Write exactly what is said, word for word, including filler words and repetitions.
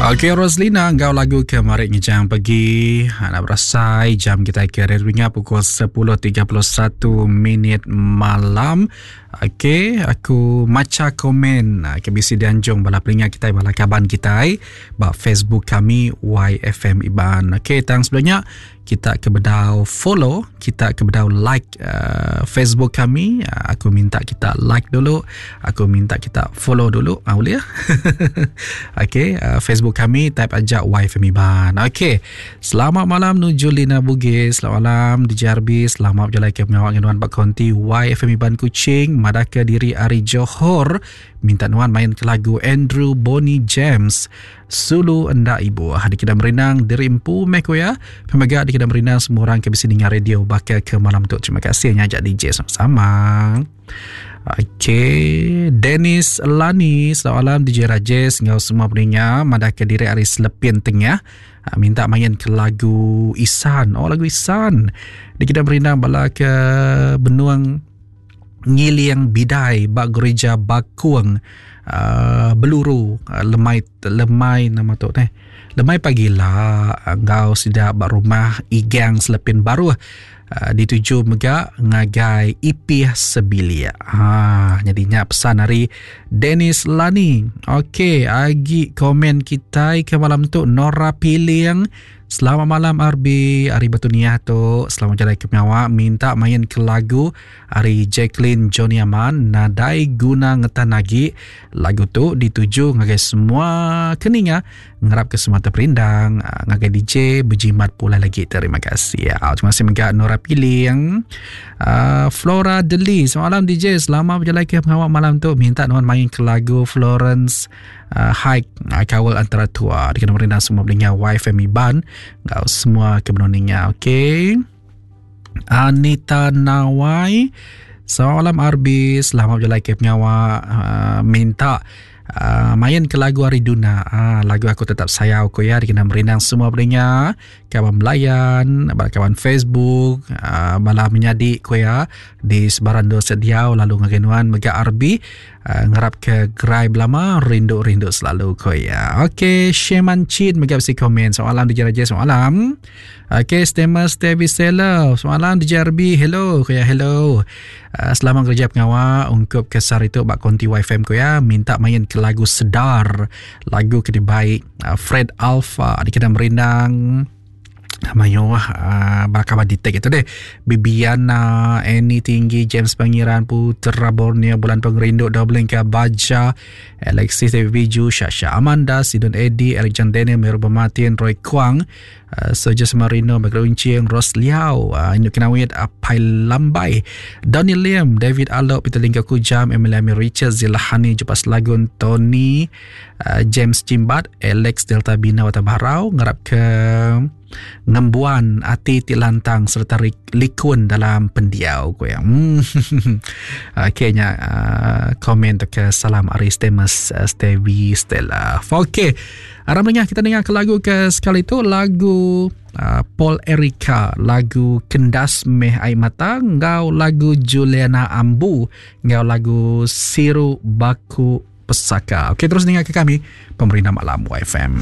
Okey Roslina enggau lagu ke mari ngejang pegi anak berasai jam kita ke ringa pukul sepuluh tiga puluh satu minit malam. Okey, aku maca komen ke bisi dianjung bala peninga kita bala kaban kita ba Facebook kami Y F M Iban. Okey, tang sebelumnya kita ke bedau follow, kita ke bedau like uh, Facebook kami, uh, aku minta kita like dulu, aku minta kita follow dulu, ah, boleh ya? Okey, uh, Facebook kami type aja Y F M Iban. Okey, selamat malam nuju Lina Bugis, selamat malam D J R B, selamat berjalan ke pengawal nuan Pak Konti Y F M Iban Kuching, madaka diri Ari Johor, minta nuan main ke lagu Andrew Bonnie James Sulu Enda Ibu. Di kita merinang diri empu meko ya. Pemega di kita merinang semua orang ke bisi dengar radio bakal ke malam tu. Terima kasih ngajak D J sama-sama. Okey, Dennis Lani, selamat malam D J Rajesh ngau semua pendengar madaka diri Ari Selepin Tengah. Minta main ke lagu Isan. Oh, lagu Isan. Di kita merinang bala ke Benuang Ngiliang Bidai bak gereja Bakuang uh, Beluru uh, lemai lemai nama tu teh lemai pagila ngau sida bak rumah Igang Selepin Baru uh, dituju mega ngagai Ipih Sebilia. Ha jadinya pesan hari Dennis Lani. Okey, agi komen kita ke malam tu Nora Piling. Selamat malam R B, Ari Batu Niah tu. Selamat jalan ke pengawak. Minta main ke lagu Ari Jacqueline Johnny Aman, Nadai Guna Ngetan Lagi. Lagu tu dituju ngagai semua keninga, ngerap ke semua terperindang, ngagai D J berjimat pula lagi. Terima kasih. Ya. Terima kasih juga Nora Piling. Uh, Flora Deli. Selamat malam D J, selamat berjalan ke pengawak malam tu. Minta nuan main ke lagu Florence Uh, Hike uh, Kawal Antara Tua. Dikena merindang semua belinga Y F M Iban ngau semua kebenoninya. Okey, Anita Nawai, selamat malam R B, selamat berjalan ke pengawak. uh, Minta uh, main ke lagu Ari Duna, uh, lagu Aku Tetap Sayau Ko ya. Dikena merindang semua belinga kawan melayan, kawan Facebook, uh, bala menyadi ko ya di sebaran dosa diau lalu ngagenuan mega R B. Uh, ngerap ke gerai belama rindu-rindu selalu ko ya. Okey, Sheman Chin mega besi komen. Selamat malam D J Raja, selamat malam. Okey, Stemas Tevi Seller, selamat malam D J R B, hello ko ya, hello. Uh, selamat kerja pengawal ungkup kesar itu bak konti Y F M ko ya. Minta main ke lagu Sedar, lagu ke baik uh, Fred Alpha dikena merindang Mayo uh, bakal di tag itu deh. Bibiana, Annie Tinggi, James Pangeran, Putra Borneo, Bulan Pengerindu, Doblinka Baja, Alexis Devi Biju, Shasha Amanda, Sidon Eddie, Alexander Daniel, Meru Bematin, Roy Kuang, uh, Soja Marino, Bagro Uncing, Ros Liao, uh, Induk Kenawit, Apai Lambai, Donny Lim, David Alok, Peter Lingga Kujam, Emily Amir Richard, Zilahani, Jupas Lagun, Tony, uh, James Jimbat, Alex Delta Bina Watabarau, ngarap ke ngembuan ati ti lantang serta likun dalam pendiau ko yang. Hmm. Okey nya uh, komen ke salam Aris Temas uh, Stevie Stella. Okey. Aram dengar kita dengar ke lagu ke sekali tu lagu uh, Paul Erika, lagu Kendas Meh Air Mata, ngau lagu Juliana Ambu, ngau lagu Siru Baku Pesaka. Okey, terus dengar ke kami Pemerintah Malam Y F M.